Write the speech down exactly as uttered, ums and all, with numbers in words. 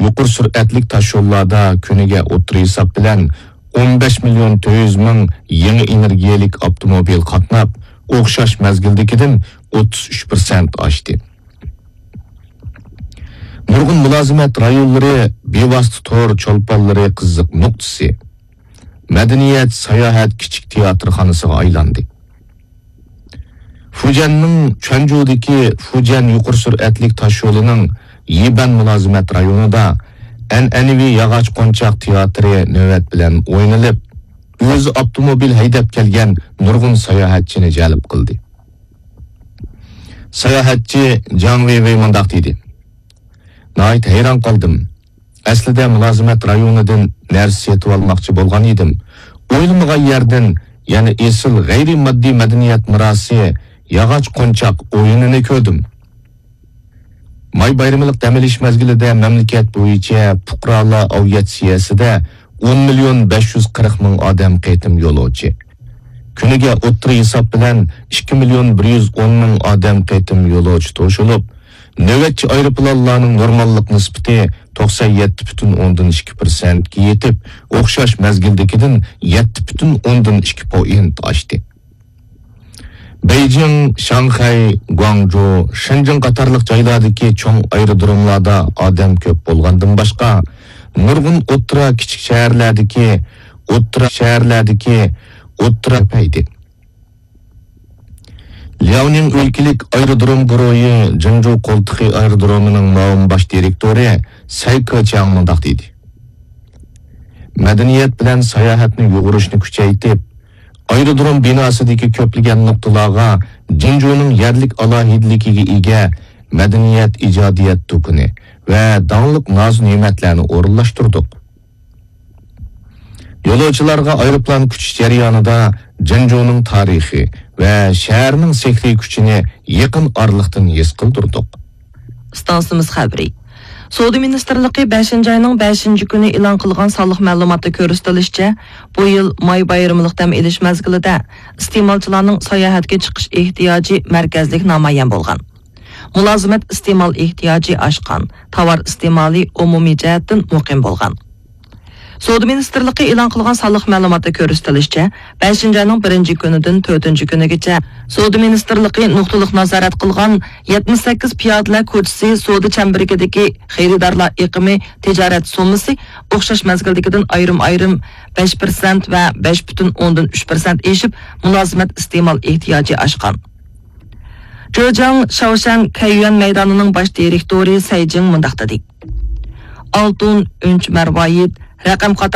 يۇقىرى سۈرئەتلىك تاشيوللاردا كۈنىگە ئوتتۇرا ھېساب بىلەن ئون بەش مىليون تۆت يۈز مىڭ يېڭى ئېنېرگىيەلىك ئاپتوموبىل قاتناپ، ئوخشاش مەزگىلدىكىدىن ئوتتۇز ئۈچ پىرسەنت ئاشتى. نۇرغۇن مۇلازىمەت رايونلىرى بىۋاسىتە تور چولپانلىرى قىزىق نۇقتىسى، مەدەنىيەت، ساياھەت كىچىك تىياتىرخانىسىغا ئايلاندى. فۇجيەننىڭ چۈەنجۇدىكى فۇجيەن يۇقىرى سۈرئەتلىك تاشيولىنىڭ يىبەن مۇلازىمەت رايونىدا ئەنئەنىۋى ياغاچ قونچاق تىياتىرى نۆۋەت بىلەن ئوينىلىپ، ئۆزى ئاپتوموبىل ھەيدەپ كەلگەن نۇرغۇن ساياھەتچىنى جەلپ قىلدى. ساياھەتچى جاڭ ۋېيۋېي مۇنداق دېدى: ناھايىتى ھەيران قالدىم. ئەسلىدە مۇلازىمەت رايونىدىن نەرسە سېتىۋالماقچى بولغان ئىدىم. ئويلىمىغان يەردىن يەنە ئېسىل غەيرىي ماددىي مەدەنىيەت مىراسى، ياغاچ قونچاق ئويۇنىنى كۆردۈم. ماي بايرىملىق دەم ئېلىش مەزگىلىدە مەملىكەت بويىچە پۇقرالار ئاۋىئاتسىيەسىدە ئون مىليون بەش يۈز قىرىق مىڭ ئادەم قېتىم يولۇچى، كۈنىگە ئوتتۇرا ھېساب بىلەن ئىككى مىليون بىر يۈز ئون مىڭ ئادەم قېتىم يولۇچى توشۇلۇپ، نۆۋەتچى ئايروپىلانلارنىڭ نورماللىق نىسبىتى توقسان يەتتە پۈتۈن ئوندىن ئىككى پىرسەنتكە يېتىپ، ئوخشاش مەزگىلدىكىدىن يەتتە پۈتۈن ئوندىن ئىككى پوئىنت ئاشتى. بېيجىڭ، شاڭخەي، گۇاڭجۇ، شېنجېن قاتارلىق جايلاردىكى چوڭ ئايرودروملاردا ئادەم كۆپ بولغاندىن باشقا، نۇرغۇن ئوتتۇرا، كىچىك شەھەرلەردىكى ئوتتۇرا، شەھەرلەردىكى ئوتتۇرا كۆپەيدى. لياۋنىڭ ئۆلكىلىك ئايرودروم گۇرۇھى جىنجۇ قولتۇقى ئايرودرومىنىڭ مۇئاۋىن باش دىرېكتورى سەي كېچياڭ مۇنداق دېدى: مەدەنىيەت بىلەن ساياھەتنى يۇغۇرۇشنى كۈچەيتىپ، ئايرودروم بىناسىدىكى كۆپلىگەن نۇقتىلارغا جىنجۇنىڭ يەرلىك ئالاھىدىلىكىگە ئىگە مەدەنىيەت، ئىجادىيەت دۇكىنى ۋە داڭلىق نازۇ نېمەتلەرنى ئورۇنلاشتۇردۇق. يولۇچىلارغا ئايروپىلان كۈتۈش جەريانىدا جىنجۇنىڭ تارىخى ۋە شەھەرنىڭ سېھرىي كۈچىنى يېقىن ئارىلىقتىن ھېس قىلدۇردۇق. ئىستانسىمىز خەۋىرى. سودا مىنىستىرلىقى بەشىنچى ئاينىڭ بەشىنچى كۈنى ئېلان قىلغان سانلىق مەلۇماتتا كۆرسىتىلىشىچە، بۇ يىل ماي بايرىملىق دەم ئېلىش مەزگىلىدە ئىستېمالچىلارنىڭ ساياھەتكە چىقىش ئېھتىياجى مەركەزلىك نامايان بولغان. مۇلازىمەت ئىستېمال ئېھتىياجى ئاشقان، تاۋار ئىستېمالى ئومۇمىي جەھەتتىن مۇقىم بولغان. سودا مىنىستىرلىقى ئېلان قىلغان سانلىق مەلۇماتتا كۆرسىتىلىشىچە، بەشىنچى ئاينىڭ بىرىنچى كۈنىدىن تۆتىنچى كۈنىگىچە سودا مىنىستىرلىقى نۇقتىلىق نازارەت قىلغان يەتمىش سەككىز پىيادىلەر كوچىسى سودا چەمبىرىكىدىكى خېرىدارلار ئېقىمى، تىجارەت سوممىسى ئوخشاش مەزگىلدىكىدىن ئايرىم-ئايرىم بەش پىرسەنت ۋە بەش پۈتۈن ئوندىن ئۈچ پىرسەنت ئېشىپ، مۇلازىمەت ئىستېمال ئېھتىياجى ئاشقان. جېجياڭ شاۋشەن كەييۈەن مەيدانىنىڭ باش دىرېكتورى سەي جىڭ مۇنداق دېدى: ئالتۇن، ئۈنچە مەرۋايىت، رەقەم قاتارلىق